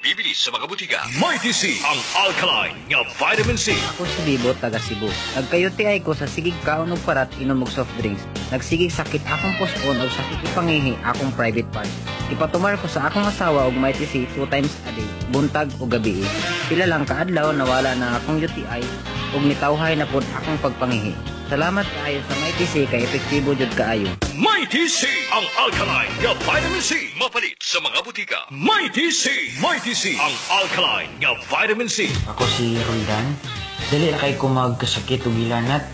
Mabibili sa mga butika. Mighty C, ang alkaline nga vitamin C. Ako si Bibo, taga Cebu. Nagka-UTI ko sa sigig kaon og parat, inom og soft drinks. Nagsigig sakit akong puson og sakit ipangihi akong private parts. Ipatumar ko sa akong asawa og Mighty C two times a day, buntag o gabi. Pila lang kaadlaw, nawala na akong UTI ug nitawhay na pod akong pagpangihi. Salamat kaayo sa Mighty C kay epektibo jud kaayo. Mighty C, ang alkaline nga vitamin C. Mapalit sa mga butika. Mighty C, Mighty C, ang alkaline nga vitamin C. Ako si Roldan. Dali ra kay ko magkasakit og hilanat.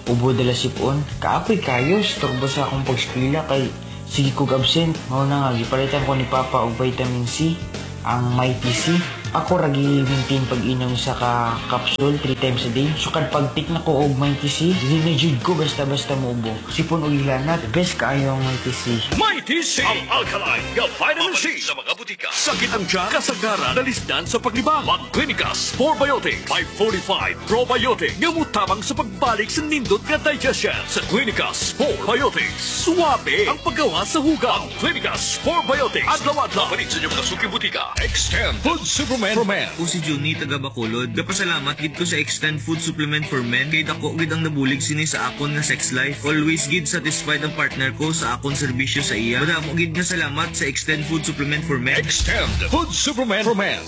Ubo dala sipon. Kaapoy kayo, storbo sa akong pagskwela kay sige kog absent. Mao na nga gipalitan ko ni Papa og vitamin C, ang Mighty C. Ako ra gi-maintain pag-inom sa ka capsule 3 times a day. Sukad pag-take na ko og Mighty C, dili na jud ko basta-basta muubo. Sipon og hilanat, best kaayo ang Mighty C. Mighty C, ang alkaline nga vitamin C. Sa mga butika. Sakit ang tiyan, kasagaran, nalisdan sa paglibang. Mag-Clinicas 4 Biotics 545 Probiotic nga mutabang sa pagbalik sa nindot nga digestion. Sa Clinicas 4 Biotics, suwabe ang paggawa sa hugaw. Ang Clinicas 4 Biotics, adlaw-adlaw. Palit sa inyong mga suking butika. Extend Food Supplement for Men. Ako si Juni, taga Bacolod. Gapasalamat gid ko sa Extend Food Supplement for Men kay dako gid ang nabulig sini sa akon nga sex life. Always gid satisfied ang partner ko sa akon serbisyo sa iya. Madamo gid nga salamat sa Extend Food Supplement for Men. Extend Food Supplement for Men.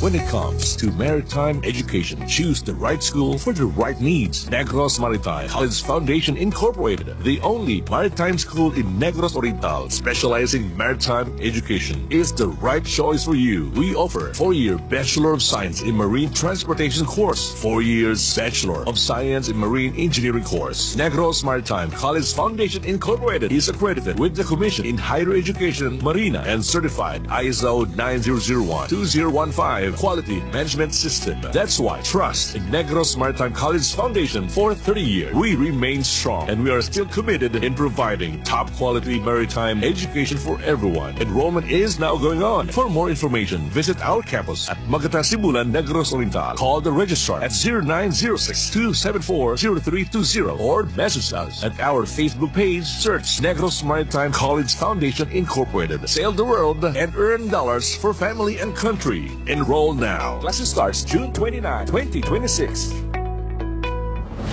When it comes to maritime education, choose the right school for the right needs. Negros Maritime College Foundation Incorporated, the only maritime school in Negros Oriental specializing in maritime education, is the right choice for you. We offer 4-year Bachelor of Science in Marine Transportation course, 4 years Bachelor of Science in Marine Engineering course. Negros Maritime College Foundation Incorporated is accredited with the Commission in Higher Education Marina and certified ISO 9001-2015 Quality Management System. That's why trust in Negros Maritime College Foundation for 30 years. We remain strong and we are still committed in providing top quality maritime education for everyone. Enrollment is now going on. For more information, visit our campus at Magata, Sibulan, Negros Oriental. Call the registrar at 0906-274-0320 or message us at our Facebook page. Search Negros Maritime College Foundation Incorporated. Sail the world and earn dollars for family and country. Enroll now. Classes starts June 29, 2026.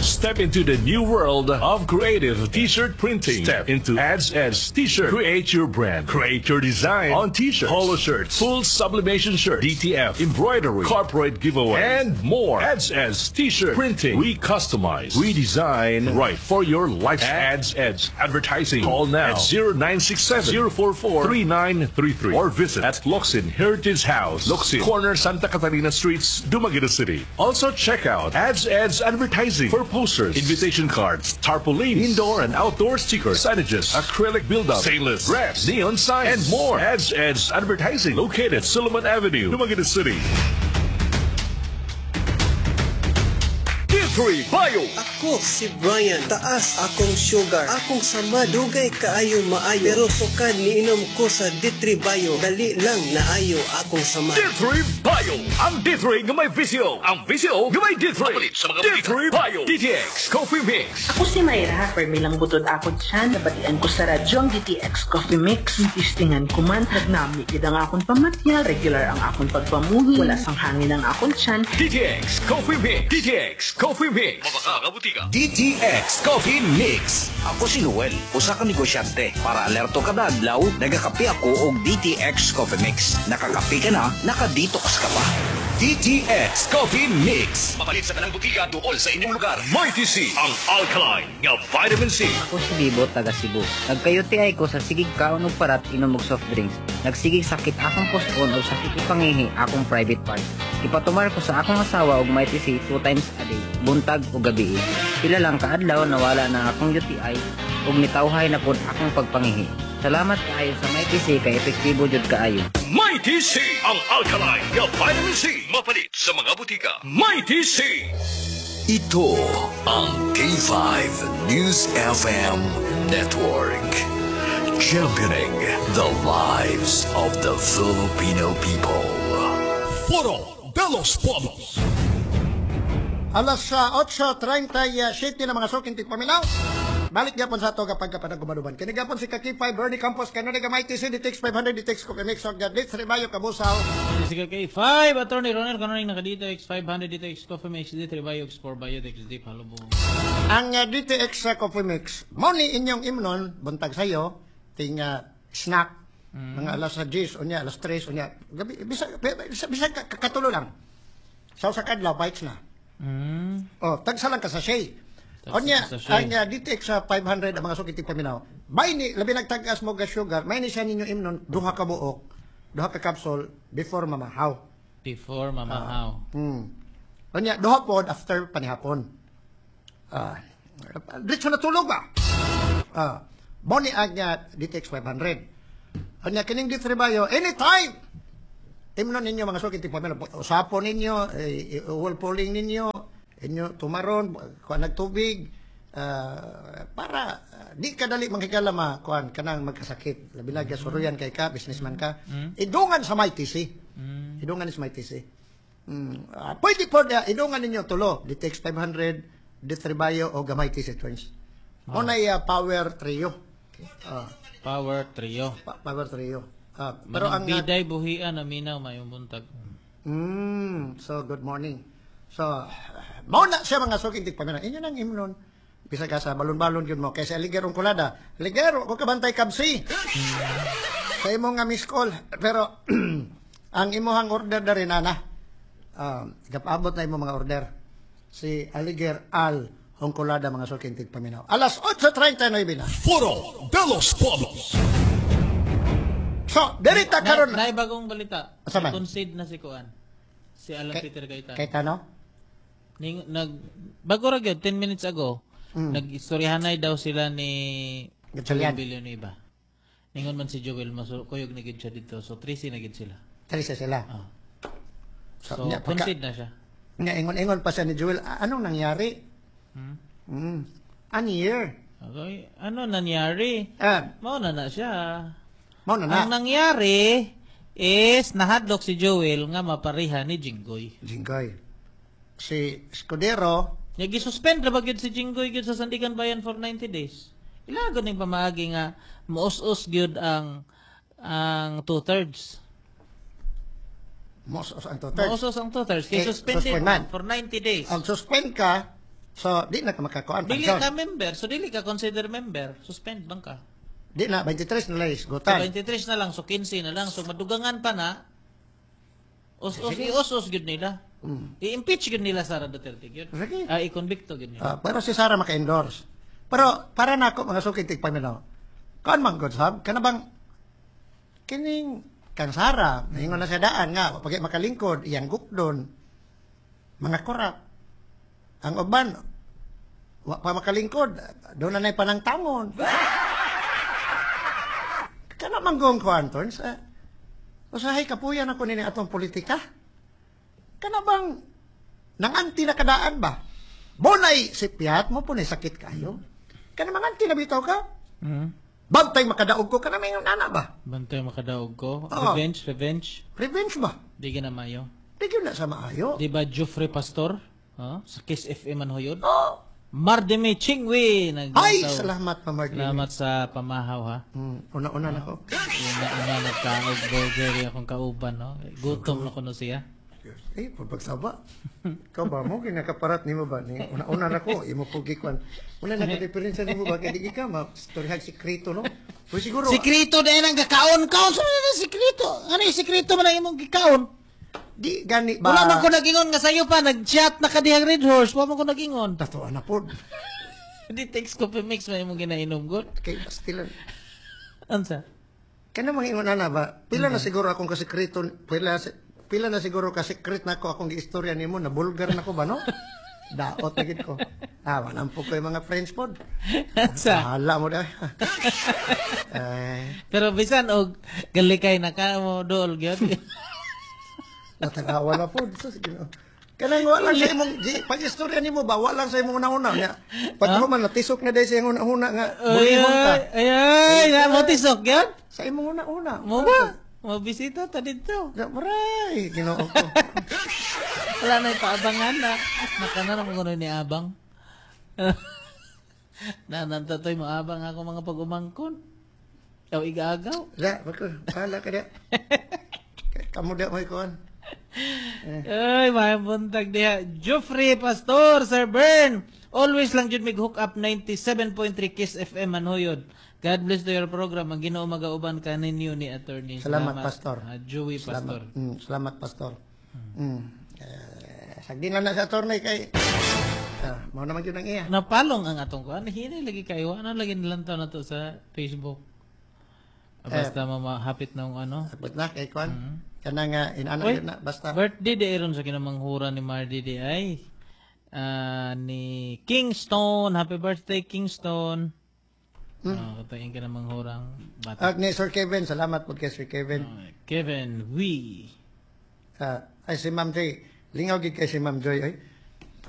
Step into the new world of creative t-shirt printing. Step into Ads Ads T-shirt. Create your brand. Create your design on t-shirts, polo shirts, full sublimation shirts, DTF, embroidery, corporate giveaway, and more. Ads Ads T-shirt printing. We customize. We design right for your life. Ads Ads Advertising. Call now at 0967 044 3933 or visit at Locsin Heritage House, Locsin, corner Santa Catalina Streets, Dumaguete City. Also check out Ads Ads Advertising for posters, invitation cards, tarpaulins, indoor and outdoor stickers, signages, acrylic build-up, stainless, brass, neon signs, and more. Ads Ads Advertising, located at Solomon Avenue, Dumaguete City. D3 Bio. Ako si Brian. Taas akong sugar. Akong sama dugay kaayo maayo. Pero sukad niinom ko sa D3 Bio, dali lang naayo akong sama. D3 Bio. Ang D3 nga may VCO. Ang VCO nga may D3. D3 Bio. DTX Coffee Mix. Ako si Mayra, permi lang butod ako tiyan, nabatian ko sa radyo ang DTX Coffee Mix. Tistingan ko man, nagnami gid ang akong pamatya, regular ang akong pagpamuhi, wala sang hangin ang akong tiyan. DTX Coffee Mix. DTX Coffee Mix. Mabaka butika. DTX Coffee Mix. Ako si Noel, usa ka negosyante. Para alerto kada adlaw, nagakape ako og DTX Coffee Mix. Nakakape ka na, naka-detox ka pa. DTX Coffee Mix. Mapalit sa tanang butika duol sa inyong lugar. Mighty C, ang alkaline nga vitamin C. Ako si Bibo, taga Cebu. Nagka-UTI ko sa sigig kaon og parat, inom og soft drinks. Nagsigig sakit akong puson og sakit ipangihi akong private parts. Ipatumar ko sa akong asawa og Mighty C two times a day, buntag o gabi. Pila lang kaadlaw, nawala na akong UTI ug nitawhay na pod akong pagpangihi. Salamat kaayo sa Mighty C kay epektibo jud kaayo. Mighty C, ang alkaline nga vitamin C. Mapalit sa mga butika. Mighty C. Ito ang K5 News FM Network. Championing the lives of the Filipino people. Foro de los Pueblos. Alas 8.37 na, mga suking tigpaminaw. Balik gyapon sa ato kapag kapanag gumanuban. Kini gyapon si Ka K5 Bernie Campos kanunay gamay TC DTX 500 DTX Coffee Mix og Gadlit Ribayo Kabusaw. Sige kay 5 Attorney Ronel kanunay naka DTX 500 DTX Coffee Mix D3 Bio X4 Bio X D Palubong. Ang DTX sa Coffee Mix, mao ni inyong imnon buntag sayo ting snack mga alas 10 unya alas 3 unya gabi bisa bisa, bisa katulo lang. Sa usa ka adlaw bites na. Oh, tagsa lang ka sa sachet. Unya ang DTX sa 500 ang mga suki paminaw. May ni labi nagtag-as mo ga sugar, may ni siya ninyo imnon duha ka buok, duha ka capsule before mamahaw. Before mamahaw. Unya duha pod after panihapon. Diretso na tulog ba? Mo ni ang DTX 500. Unya kining D3 Bio anytime. Imnon ninyo mga suki paminaw, usapon ninyo, whirlpooling ninyo, inyo tumaron, kuan nagtubig, para di ka dali manghigala ma kuan kanang magkasakit. Labi na gasuruyan kay ka, businessman ka. Idungan sa may TC. Idungan sa may TC. Pwede po idungan ninyo tulo, DTX 500, D3 Bio o gamay TC Twins. Mo na power trio. Power trio. Power trio. Pero ang biday buhian aminaw mayong buntag. So good morning. So, mao na siya mga suking tigpamina. Inyo nang imnon. Bisag ka sa balon-balon yun mo. Kaysa Aligerong Kulada. Aligero, kung kabantay kabsi. Sa imong nga miss call. Pero, ang imuhang order na rin, ana. Gapabot na imong mga order. Si Aliger Al Hongkolada mga suking tigpaminaw. Alas 8:39 na. Foro de los Pueblos. So, dirita karon. Na bagong balita. Asa man? Concede na si Kuan. Si Alan Peter Cayetano. Cayetano? Ning, bago ra gyud 10 minutes ago, nag-istoryahanay daw sila ni Gatchalian. Joel Villanueva. Ningon man si Joel, kuyog na gyud siya dito. So 13 na gyud sila. 13 sila. So, concede na siya. Nya ingon-ingon pa siya ni Joel, anong nangyari? Ano year? Okay. Ano nangyari? Mao na na siya. Mao na na. Ang nangyari is nahadlok si Joel nga mapareha ni Jinggoy. Jinggoy. Si Escudero, nya gisuspend ra ba gyud si Jinggoy gyud sa Sandigan Bayan for 90 days. Ilagon ning pamaagi nga moos-os gyud ang 2/3. Moos-os ang 2/3. Moos-os ang 2/3 kay suspended for 90 days. Ang suspend ka, so di na ka makakuan. Dili ka member, so dili ka consider member, suspend bang ka? Di na, 23 na lang isgutan. So 23 na lang, so 15 na lang. So madugangan pa na. Os-os, i-os-os gyud nila. I-impeach gyud nila Sara Duterte gyud. I-convicto gyud nila. Pero si Sara maka-endorse. Pero para nako mga suki tigpaminaw. Kuan man god sab, kana bang kining kang Sara, ningon na siya daan nga pag makalingkod iyang gukdon. Mga korap. Ang uban wa pa makalingkod, doon na nay panangtangon. Kana man gong kuan torns. Usahay kapuyan ako nini atong politika. Kana bang nanganti na kadaan ba? Bonay sipiat mo po ni sakit kayo. Kana manganti na bitaw ka? Bantay makadaog ko kana may nana ba? Bantay makadaog ko. Oo. Revenge, revenge. Revenge ba? Di ka na maayo. Di gyud na sa maayo. Di ba Jeffrey Pastor? Huh? Sa Kiss FM man ho yun? Oh. Mardeme Chingwe. Ay, salamat pa Mardeme. Salamat sa pamahaw ha. Una-una na ko. Una-una nagkaog burger yung akong kauban no. Gutom na ko no siya. Eh, pagsaba. Ikaw ba mo kinakaparat nimo ba ni una-una na ko imo ko gikuan. Wala na ka diferensya nimo ba kay di ka ma storyahan sikreto no. Pero siguro sikreto din ang gakaon kaon sa na sikreto. Ano yung sikreto man ang imong gikaon? Di gani ba? Wala man ko nagingon nga sayo pa nag-chat na ka dihang Red Horse, wa man ko nagingon. Tatuan na pod. Di text coffee mix man imong ginainom god. Kay bastilan. Unsa? Kana mga ingon ana ba? Pila na siguro akong kasikreto, pila na siguro kasikret na ako akong giistorya nimo na bulgar na ko ba no? Daot na gid ko. Walang po ko yung mga friends pod. Sa? Hala mo dahil. Pero bisan og galikay na ka mo dool gyud. Natanawa na po. So, sige na. Kanang wala sa imong pag-istorya nimo ba wala sa imong una-una nya. Pag human natisok na dahil sa imong una-una nga bulihon ka. Ay, ay, ay, mo tisok gyud? Sa imong una-una. Mo ba? Mo bisita ta dito. Maray, Ginoo ko. Wala na ipaabangan na. Nakana na mo ni abang. Nananta to'y maabang ako mga pag-umangkon. Aw igaagaw. Da, bako, bahala ka da. Kamu da mo ikuan. Ay, maayong buntag diha. Geoffrey Pastor, Sir Bern. Always lang jud mig hook up 97.3 Kiss FM Manhuyod. God bless to your program. Ang Ginoo magauban kaninyo ni Attorney. Salamat, Pastor. Joey Pastor. Salamat, salamat, Pastor. Sagdi lang na sa attorney kay mao naman yun ang iya. Napalong ang atong kuan. Hinay lagi kayo. Ano lagi nilantaw na to sa Facebook? Basta mamahapit na ang ano. Hapit na kay kuan. Kana nga inana Uy, yun na basta. Birthday di ron sa kinamanghura ni Mardy di ay. Ni Kingston. Happy birthday, Kingston. Oh, ito yung kinamanghurang bata. Ag ni Sir Kevin, salamat po kay Sir Kevin. Kevin Wee. Ay si Ma'am Joy, lingaw gid kay si Ma'am Joy ay.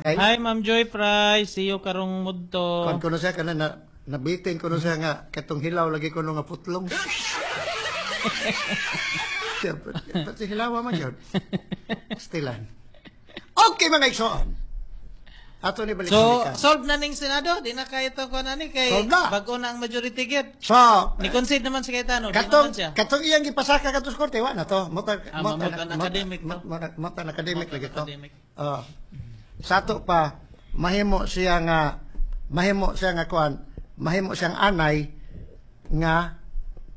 Ay, Hi, Ma'am Joy Price. See you karong mudto. Kuan kuno siya kana na nabitin kuno siya nga katong hilaw lagi kuno nga putlong. Siya, pati hilaw man yun. Stilan. Okay mga igsoon. Ato ni balik So, balikan. solve na ning Senado. Di na kayo to kuan ani kay Solve na. bag-o na ang majority gyud. So, Ni concede naman si Cayetano. Di katong naman siya. katong iyang gipasaka kato sa korte wa na to. Mota Ah, mota an academic to. Mota an academic lagi to. Academic. Sa ato pa mahimo siya nga kuan, mahimo siyang anay nga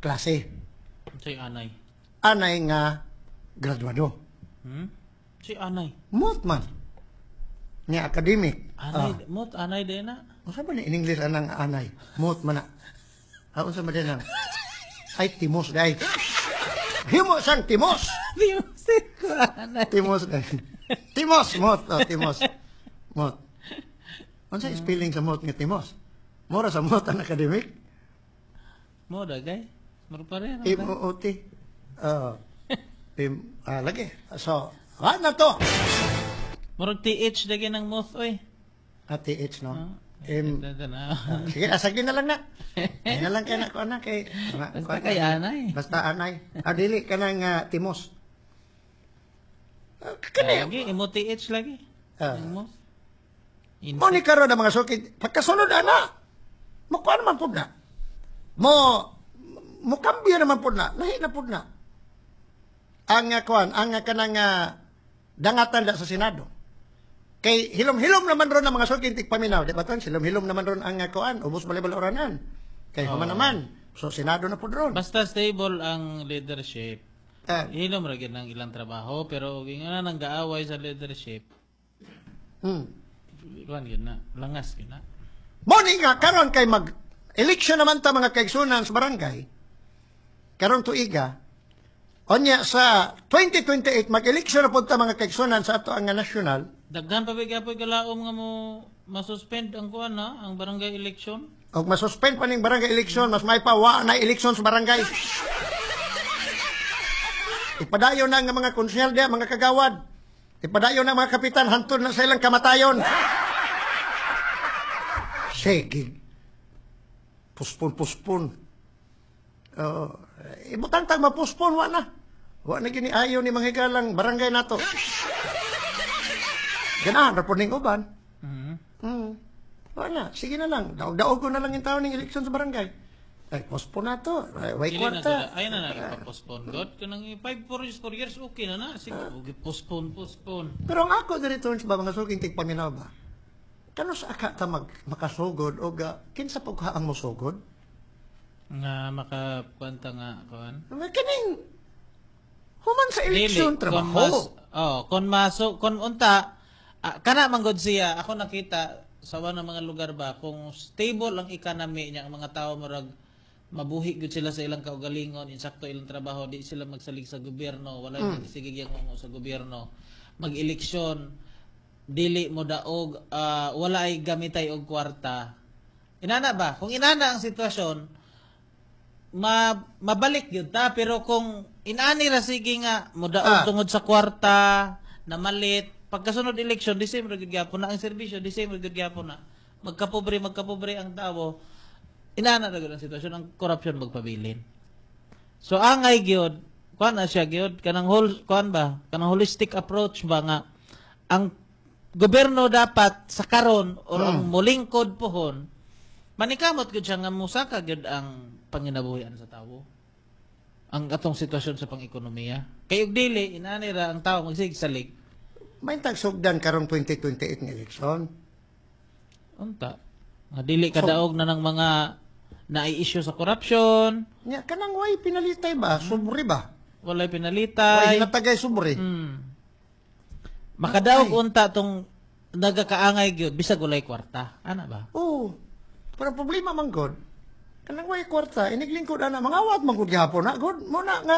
klase. Si anay. Anay nga graduado. Si anay. Mot man. Nga academic. Anay, mot anay din na. Unsa ba ni in English anang anay? Mot man na. Unsa ba din ang? Ay, timos day. Himo siyang timos. Timos ko anay. Timos day. Timos, mot. Oh, timos. Mot. Unsa spelling sa mot nga timos? Mura sa mot ang academic. Mo dagay. Mura pa rin. M O O T. Lagi. So, wa na to. Murag TH dagay ng moth oy. Ah, TH no. M na. Sige, asagin na lang na. Ay na lang kay na ko na kay Basta kay anay. Basta anay. Ah, dili ka nang timos. Lagi imo TH lagi. Ang moth. Mo ni karon ang mga sukid, pagkasunod ana. Mo kuan man pud na. Mo mo kambyo naman pud na, lahi na pud na. Ang kuan, ang kanang dangatan da sa Senado. Kay hilom-hilom naman ron ang mga sukid tigpaminaw, di ba tan? Hilom-hilom naman ron ang kuan, ubos balay-baloranan. Kay human naman. So Senado na pud ron. Basta stable ang leadership. Hilom ra gyud ang ilang trabaho pero og ingana nang gaaway sa leadership. Kuan gyud na, langas gyud na. Mo ni nga karon kay mag election naman ta mga kaigsunan sa barangay. Karon tuiga. Onya sa 2028 mag-election na pud ta mga kaigsunan sa ato ang national. Daghan pa bigya po'y galaom nga mo masuspend ang kuan na ang barangay election. Og masuspend pa ning barangay election, mas may pa wa na election sa barangay. Ipadayon na ang mga konsehal diha, mga kagawad. Ipadayon na ang mga kapitan hantod na sa ilang kamatayon. Sige. Puspon-puspon. Ibutang tag mapuspon, wa na. Wa na gini ayo ni mga higalang barangay nato. Ganahan ra po ning uban. Wa na, sige na lang. Daog-daog ko na lang yung tao ning eleksyon sa barangay. Ay, postpone na to. Ay, way kwarta. Ay na na postpone god kanang 5 4 years 4 years okay na na. Sige, postpone postpone. Pero ang ako diri turns ba mga suking tigpaminaw ba? Kano sa aka ta makasugod o ga kinsa pug ang mosugod? Nga makakwanta nga kuan. Kaning human sa eleksyon trabaho. Kon maso kon unta kana man gud siya ako nakita sa wa ng mga lugar ba kung stable ang economy niya ang mga tao murag mabuhi gud sila sa ilang kaugalingon, insakto ilang trabaho, di sila magsalig sa gobyerno, wala mm. sige gyang sa gobyerno. Mag-eleksyon dili mo daog, wala ay gamitay og kwarta. Inana ba? Kung inana ang sitwasyon, mabalik gyud ta, pero kung inani ra sige nga mo daog tungod sa kwarta, namalit, pagkasunod eleksyon, December gyud gyapon na ang serbisyo, December gyud gyapon na. Magkapobre ang tao. Inana ra gyud ang sitwasyon, ang corruption magpabilin. So angay gyud, kuan na siya gyud kanang whole kuan ba, kanang holistic approach ba nga ang gobyerno dapat sa karon or ang molingkod pohon Manikamot gyud siya nga musaka gyud ang panginabuhian sa tawo. Ang atong sitwasyon sa pang-ekonomiya. Kay og dili inani ra ang tawo magsigsalig. May tagsugdan karong 2028 nga eleksyon. Unta. Nga dili kadaog na ng mga nai-issue sa corruption. Nya kanang way pinalitay ba? Sobre ba? Walay Way pinalitay. natagay sobre. Makadaog unta tong nagakaangay gyud bisag walay kwarta. Ana ba? Oo. Pero problema man god. Kanang way kwarta, iniglingkod ana mangawat man gud gihapon na god mo na nga.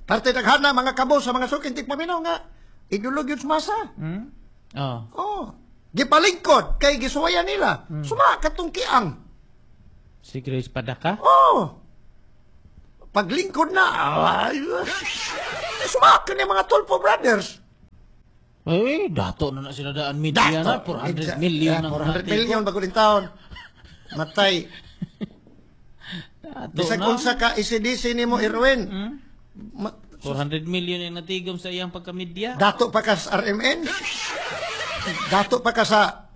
Parte daghana mga kabo sa mga suking tigpaminaw nga idulog yun sa masa. Hmm? Oh. Oh. Gipalingkod kay gisuwayan nila. Suma katong kiang. Si Grace Padaka? Oh. Paglingkod na, ay, suma ka ni mga Tulfo Brothers. Eh, dato na na sila daan media na. 400 million ang 400 million bago din taon. Matay. Dato Bisag na. unsa ka ECDC nimo Irwin. 400 million ang natigom sa iyang pagkamedya. Dato pa ka sa RMN. Dato pa ka sa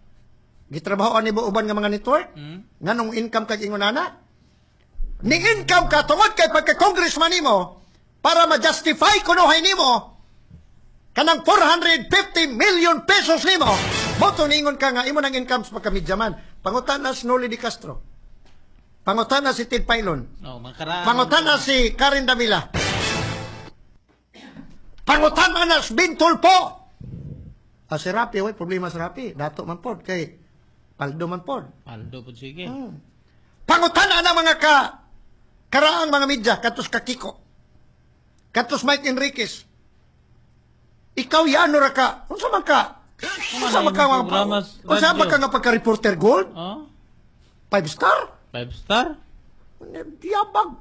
gitrabahoan nimo uban nga mga network. Nganong income kag ingon ana? Ni income ka tungod kay pagka-congressman nimo para ma-justify kunuhay nimo kanang 450 million pesos nimo. Boto ningon ka nga imo nang income sa pagkamedyaman. Pangutana si Noli Di Castro. Pangutana si Ted Pailon. Oh, mga Pangutana si Karen Davila. Pangutana na si Ben Tulfo. Ah, si Rapi, way, problema sa Rapi. Dato man pod, kay Paldo man pod. Paldo po, sige. Pangutana na mga ka karaang mga media, katos ka Kiko. Katos Mike Enriquez. Ikaw yano ra ka. Unsa man ka? Unsa man ka nga unsa man ka nga pagka-reporter gold? Oh? 5 star? 5 star? Yabag.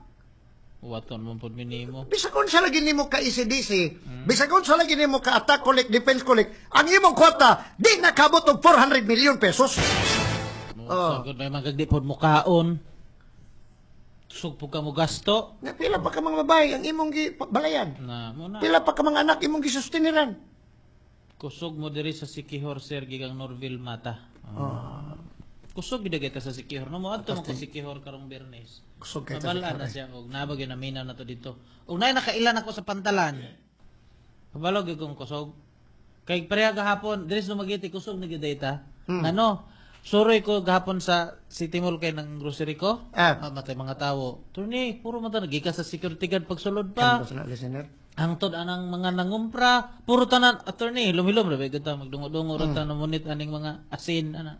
Waton mo pod minimo. Bisag unsa lagi nimo ka ECDC, bisag unsa lagi nimo ka attack collect, defense collect, ang imong kwarta di nakabot og 400 million pesos. Oh. Sagod may mga di pod mukaon. Sugpo ka mo gasto. Na pila pa ka mga babae ang imong gi balayan. Na mo na. Pila pa ka mga anak imong gisusteniran. Kusog mo diri sa Sikihor sir gigang Norville Mata. Oh. Kusog gid kita sa Sikihor no mo adto mo ko Sikihor karong Biyernes. Kusog kay ta sa Mabal-an na siya og nabag yun naminaw na to dito. Og nay nakailan ako sa pantalan. Kabalo gyud kong kusog. Kay pareha gahapon diri sa Dumaguete kusog na gyud ta. Ngano? Suroy ko gahapon sa City Mall kay ng grocery ko. Mamatay mga tawo. Turni, puro man ta nagika sa security guard pagsulod pa. Kandos na listener. Hangtod anang mga nangumpra, puro tanan attorney, lumilom ra ba ta magdungo-dungo ra ta namunit aning mga asin ana.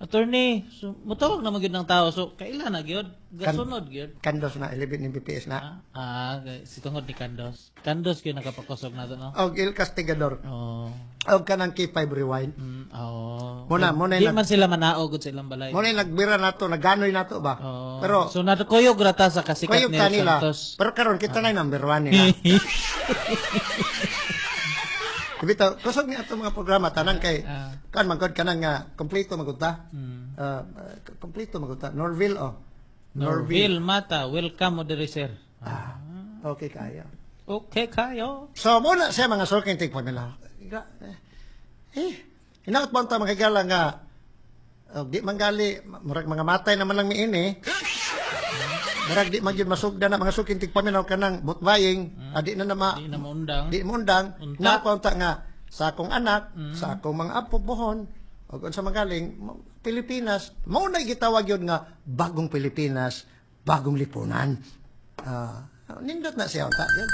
Attorney, so, mutawag na magyud ng tao. So kailan na gyud? Gasunod gyud. Kandos na 11 ni BPS na. Ah, si tungod ni Kandos. Kandos gyud nakapakosog nato no. Og Il Castigador. Oh. Og kanang K5 Rewind. Oh. Muna, muna di man sila manaog gud sa ilang balay. Muna nagbira nato, naganoy nato ba? Oh. Pero so nakuyog ra ta sa kasikat kuyog ni ta nila. Santos. Pero karon kita na yung number 1 nila. Bitaw, kusog ni ato mga programa tanan kay kan man gud kanang nga kompleto man gud ta. Kompleto man gud ta. Norville oh. Norville Mata, welcome mo diri sir. Okay kayo. Okay kayo. So muna siya mga sulking tig pamilya. Hinaot ba ta mga higala nga di man gali murag mga matay naman lang miini. Murag di man gyud masugda na mga suking tigpaminaw kanang butbaying, adi na na di na maundang. Di maundang. Napunta nga sa akong anak, sa akong mga apo buhon, ug unsa magaling Pilipinas, mao na gitawag yun nga bagong Pilipinas, bagong lipunan. Nindot na siya unta yun.